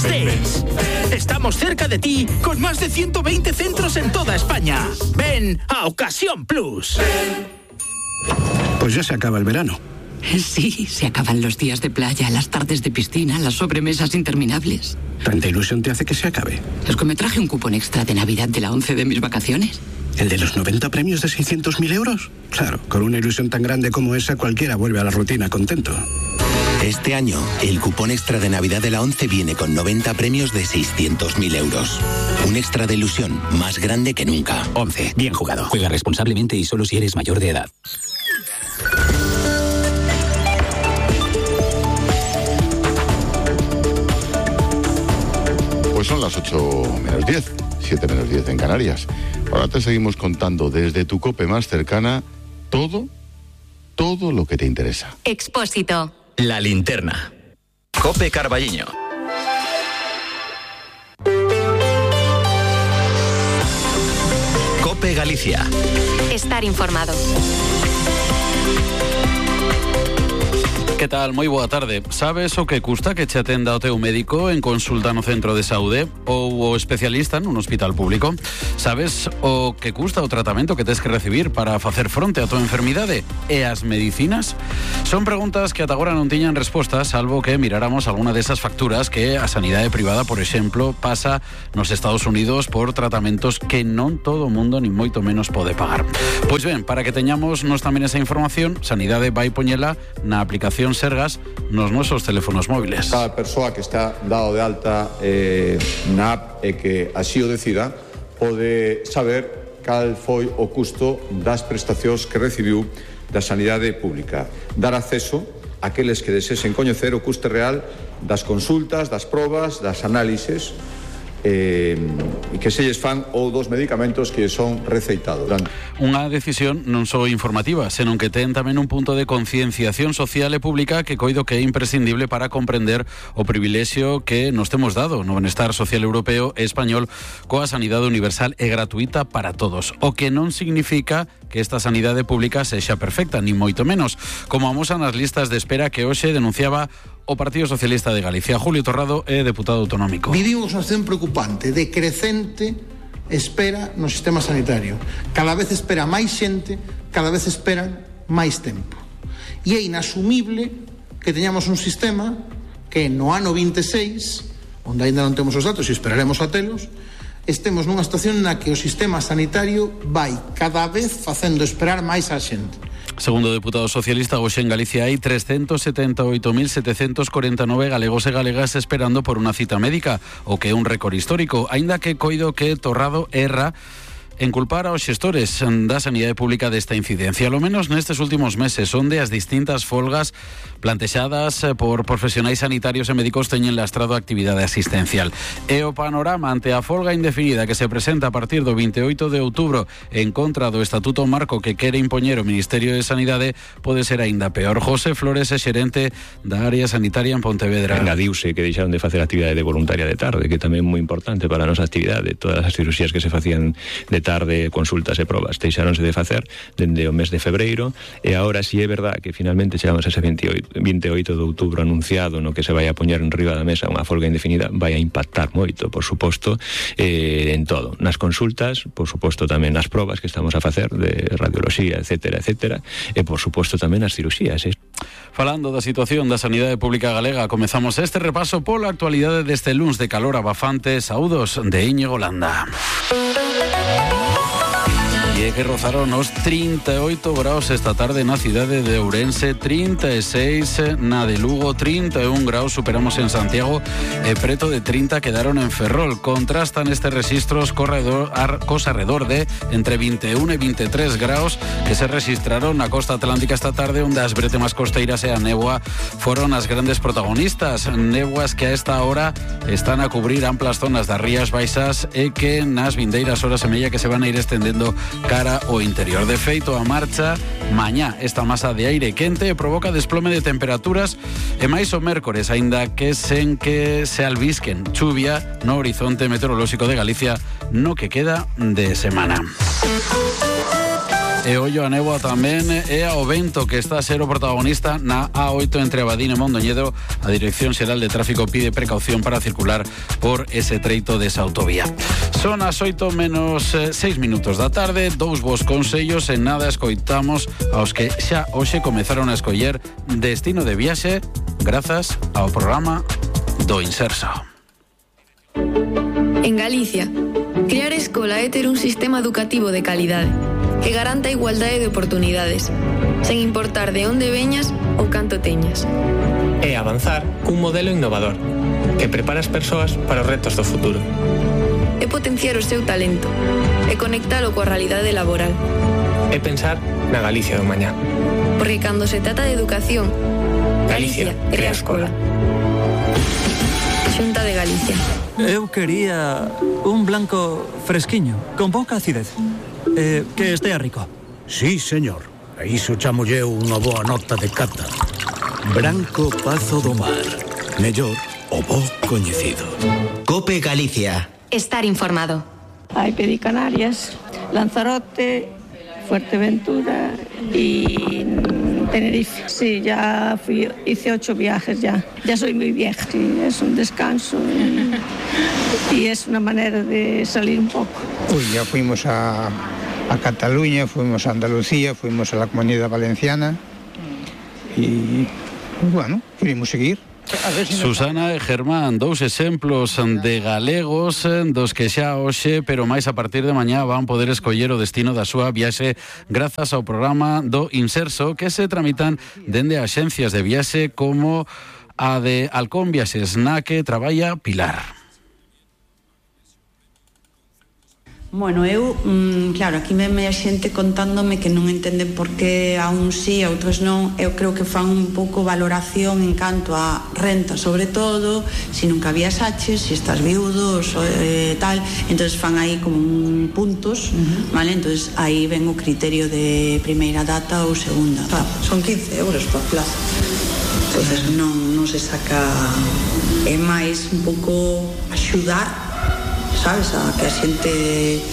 estés. Estamos cerca de ti con más de 120 centros en toda España. Ven a Ocasión Plus. Pues ya se acaba el verano. Sí, se acaban los días de playa, las tardes de piscina, las sobremesas interminables. ¿Tanta ilusión te hace que se acabe? Es que me traje un cupón extra de Navidad de la 11 de mis vacaciones. ¿El de los 90 premios de 600.000 euros? Claro, con una ilusión tan grande como esa, cualquiera vuelve a la rutina contento. Este año, el cupón extra de Navidad de la 11 viene con 90 premios de 600.000 euros. Un extra de ilusión más grande que nunca. 11. Bien jugado. Juega responsablemente y solo si eres mayor de edad. Pues son las 8 menos 10, 7 menos 10 en Canarias. Ahora te seguimos contando desde tu COPE más cercana todo lo que te interesa. Expósito. La linterna. COPE Carballiño. COPE Galicia. Estar informado. Que tal? Moi boa tarde. Sabes o que custa que che atenda o teu médico en consulta no centro de saúde ou o especialista nun hospital público? Sabes o que custa o tratamento que tes que recibir para facer fronte a tua enfermidade? E as medicinas? Son preguntas que ata agora non tiñan resposta, salvo que miráramos alguna desas facturas que a sanidade privada, por exemplo, pasa nos Estados Unidos por tratamentos que non todo o mundo, nin moito menos, pode pagar. Pois ben, para que teñamos nos tamén esa información, Sanidade vai poñela na aplicación Sergas nos nosos teléfonos móviles. Cada persoa que está dado de alta na app e que así o decida pode saber cal foi o custo das prestacións que recibiu da sanidade pública. Dar acceso a aqueles que desesen coñecer o custe real das consultas, das probas, das análises e que se lles fan ou dos medicamentos que son receitados. Unha decisión non só informativa, senón que ten tamén un punto de concienciación social e pública que coido que é imprescindible para comprender o privilexio que nos temos dado no benestar social europeo e español coa sanidade universal e gratuita para todos. O que non significa que esta sanidade pública sexa perfecta, ni moito menos, como amosan as listas de espera que hoxe denunciaba o Partido Socialista de Galicia. Julio Torrado é deputado autonómico. Vivimos unha situación preocupante de crecente espera no sistema sanitario. Cada vez espera máis xente, cada vez esperan máis tempo. E é inasumible que teñamos un sistema que no ano 26, onde ainda non temos os datos e esperaremos a telos, estemos nunha situación na que o sistema sanitario vai cada vez facendo esperar máis a xente. Segundo o deputado socialista, hoxe en Galicia hai 378.749 galegos e galegas esperando por unha cita médica, o que é un récord histórico, aínda que coido que Torrado erra en culpar aos xestores da sanidade pública desta incidencia, ao menos nestes últimos meses, onde as distintas folgas plantexadas por profesionais sanitarios e médicos teñen lastrado a actividade asistencial. E o panorama ante a folga indefinida que se presenta a partir do 28 de outubro en contra do Estatuto Marco que quere impoñer o Ministerio de Sanidade pode ser aínda peor. José Flores é xerente da área sanitaria en Pontevedra. Engadiuse que deixaron de facer actividade de voluntaria de tarde, que tamén é moi importante para a nosa actividade. Todas as cirurxías que se facían de tarde, consultas e probas, deixáronse de facer dende o mes de febreiro, e agora si é verdad que finalmente chegamos a ese 28 de outubro anunciado no que se vai a poñer en riba da mesa unha folga indefinida, vai a impactar moito, por suposto, en todo, nas consultas, por suposto tamén nas probas que estamos a facer de radioloxía, etcétera, etcétera, e por suposto tamén as cirurxías. Falando da situación da sanidade pública galega, comezamos este repaso pola actualidade deste luns de calor abafante. Saúdos de Íñigo Landa. E que rozaron os 38 graus esta tarde na cidade de Ourense, 36 na de Lugo, 31 graus superamos en Santiago e preto de 30 quedaron en Ferrol. Contrastan estes rexistros cos arredor de entre 21 e 23 graus que se registraron na costa atlántica esta tarde, onde as bretemas costeiras e a néboa foron as grandes protagonistas. Néboas que a esta hora están a cubrir amplas zonas das Rías Baixas e que nas vindeiras horas e media que se van a ir estendendo cara ao interior. De feito, a marcha mañá esta masa de aire quente provoca desplome de temperaturas e máis o mércores, aínda que sen que se albisquen chuvia no horizonte meteorolóxico de Galicia no que queda de semana. E ollo a néboa tamén e ao vento, que está a ser o protagonista na A8 entre Abadín e Mondoñedo. A Dirección Xeral de Tráfico pide precaución para circular por ese treito desa autovía. Son as 8 menos 6 minutos da tarde, 2 vos consellos, en nada escoitamos aos que xa hoxe comezaron a escoller destino de viaxe grazas ao programa do Inserso. En Galicia, crear escola é ter un sistema educativo de calidade que garanta a igualdade de oportunidades, sen importar de onde veñas ou canto teñas. É avanzar cun modelo innovador que prepara as persoas para os retos do futuro. É potenciar o seu talento e conectalo coa realidade laboral. É pensar na Galicia do mañá. Porque cando se trata de educación, Galicia crea escola. Xunta de Galicia. Eu quería un blanco fresquiño, con pouca acidez. Que estea rico. Sí, señor. A iso chamolle unha boa nota de cata. Branco Pazo do Mar. Mellor o bo coñecido. COPE Galicia. Estar informado. Hai Pedicanarias, Lanzarote, Fuerteventura y Tenerife. Sí, ya hice 8 viajes ya. Ya soy muy vieja. Sí, es un descanso y es una manera de salir un poco. Uy, ya fuimos a Cataluña, fuimos a Andalucía, fuimos a la Comunidad Valenciana y bueno, queremos seguir. Susana e Germán, 2 exemplos de galegos dos que xa hoxe, pero máis a partir de mañá van poder escoller o destino da súa viaxe grazas ao programa do Inserso, que se tramitan dende axencias de viaxe como a de Halcón Viaxes, na que traballa Pilar. Bueno, eu, claro, aquí me a xente contándome que non entenden por que a uns sí, a outros non. Eu creo que fan un pouco valoración en canto a renta, sobre todo, se nunca viaxaches, se estás viudo, tal, entonces fan aí como puntos, vale? Entonces aí ven o criterio de primeira data ou segunda. Son 15 euros por plaza. Entonces non se saca, é máis un pouco axudar, sabes, a que a xente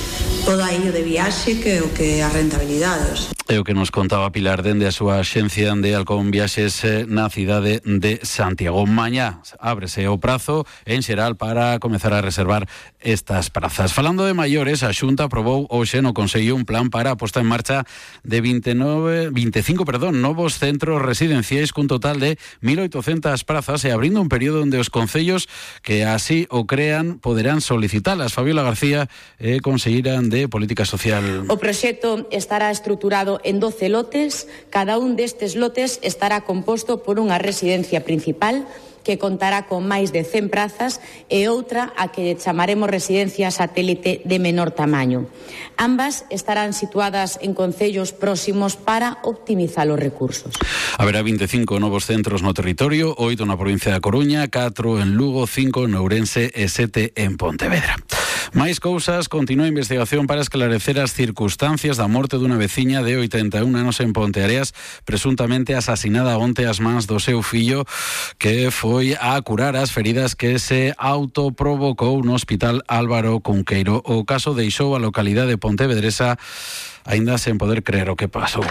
poda ir de viaxe que o que a rentabilidade. É o que nos contaba Pilar dende a súa axencia de Halcón Viaxes na cidade de Santiago. Mañá ábrese o prazo en xeral para comezar a reservar estas prazas. Falando de maiores, a Xunta aprobou hoxe no Consello un plan para a posta en marcha de 25 novos centros residenciais cun total de 1.800 prazas e abrindo un período onde os concellos que así o crean poderán solicitalas. Fabiola García, conselleira de Política Social. O proxecto estará estruturado en 12 lotes. Cada un destes lotes estará composto por unha residencia principal que contará con máis de 100 prazas e outra a que chamaremos residencia satélite de menor tamaño. Ambas estarán situadas en concellos próximos para optimizar os recursos. Haberá 25 novos centros no territorio, 8 na provincia da Coruña, 4 en Lugo, 5 en Ourense e 7 en Pontevedra. Máis cousas, continúa a investigación para esclarecer as circunstancias da morte dunha veciña de 81 anos en Ponteareas, presuntamente asasinada onte ás mans do seu fillo, que foi a curar as feridas que se autoprovocou no Hospital Álvaro Cunqueiro. O caso deixou a localidade pontevedresa aínda sen poder creer o que pasou.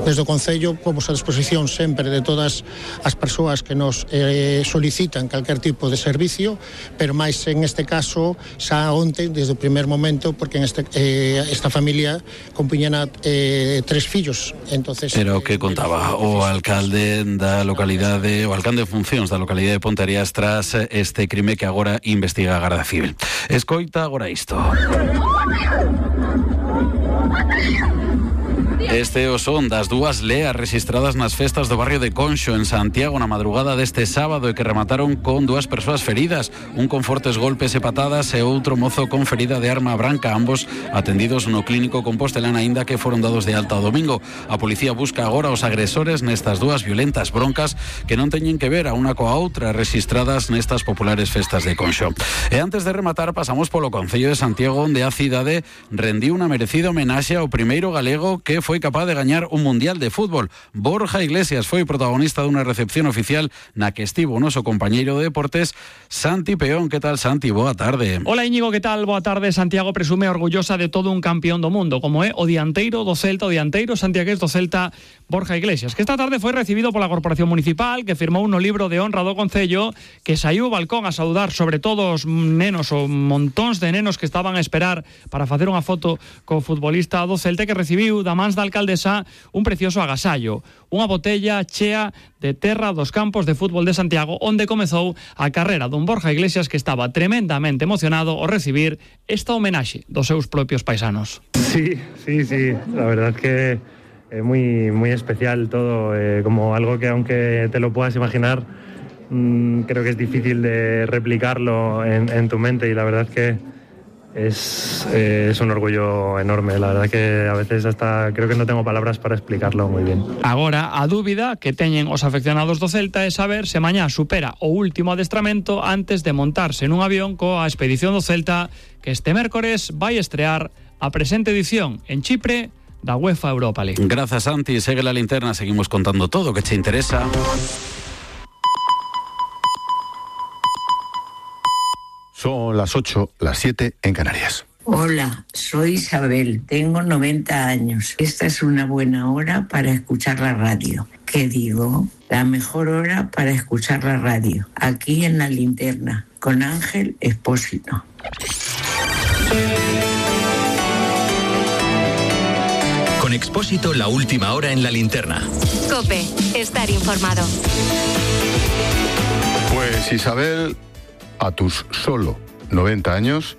Desde o Concello pomos a disposición sempre de todas as persoas que nos solicitan calquer tipo de servicio, pero máis en este caso xa onte, desde o primer momento, porque en esta familia compuñan 3 fillos. Entonces, era o que contaba o alcalde da localidade, o alcalde de funcións da localidade de Ponteareas tras este crime que agora investiga a Garda Civil. Escoita agora isto. Este o son das 2 leas registradas nas festas do barrio de Conxo en Santiago na madrugada deste sábado e que remataron con 2 persoas feridas, un con fortes golpes e patadas e outro mozo con ferida de arma branca, ambos atendidos no clínico Compostelán aínda que foron dados de alta o domingo. A policía busca agora os agresores nestas 2 violentas broncas que non teñen que ver a unha coa outra registradas nestas populares festas de Conxo. E antes de rematar pasamos polo Concello de Santiago onde a cidade rendiu unha merecida homenaxe ao primeiro galego que foi foi capaz de gañar un mundial de fútbol. Borja Iglesias foi protagonista dunha recepción oficial na que estivo o noso compañeiro de deportes, Santi Peón. Que tal, Santi? Boa tarde. Hola, Íñigo, que tal? Boa tarde. Santiago presume orgullosa de todo un campeón do mundo, como é o dianteiro do Celta, o dianteiro santiagués do Celta, Borja Iglesias, que esta tarde foi recibido pola Corporación Municipal, que firmou no libro de honra do Concello, que saiu ao balcón a saudar sobre todo os nenos, ou montóns de nenos que estaban a esperar para facer unha foto co futbolista do Celta, que recibiu da mans da alcaldesa un precioso agasallo, unha botella chea de terra dos campos de fútbol de Santiago, onde comezou a carreira dun Borja Iglesias que estaba tremendamente emocionado ao recibir esta homenaxe dos seus propios paisanos. Sí, la verdad que es muy especial todo, como algo que aunque te lo puedas imaginar, creo que es difícil de replicarlo en tu mente, y la verdad que es un orgullo enorme. La verdad que a veces hasta creo que no tengo palabras para explicarlo muy bien. Agora, a dúbida que teñen os afeccionados do Celta é saber se mañá supera o último adestramento antes de montarse nun avión coa expedición do Celta, que este mércores vai estrear a presente edición en Chipre da UEFA Europa League. Grazas, Santi. Segue la linterna, seguimos contando todo o que te interesa. Son las 8, las 7 en Canarias. Hola, soy Isabel, tengo 90 años. Esta es una buena hora para escuchar la radio. ¿Qué digo? La mejor hora para escuchar la radio, aquí en La Linterna, con Ángel Expósito. Con Expósito, la última hora en La Linterna. COPE, estar informado. Pues Isabel, a tus solo 90 años,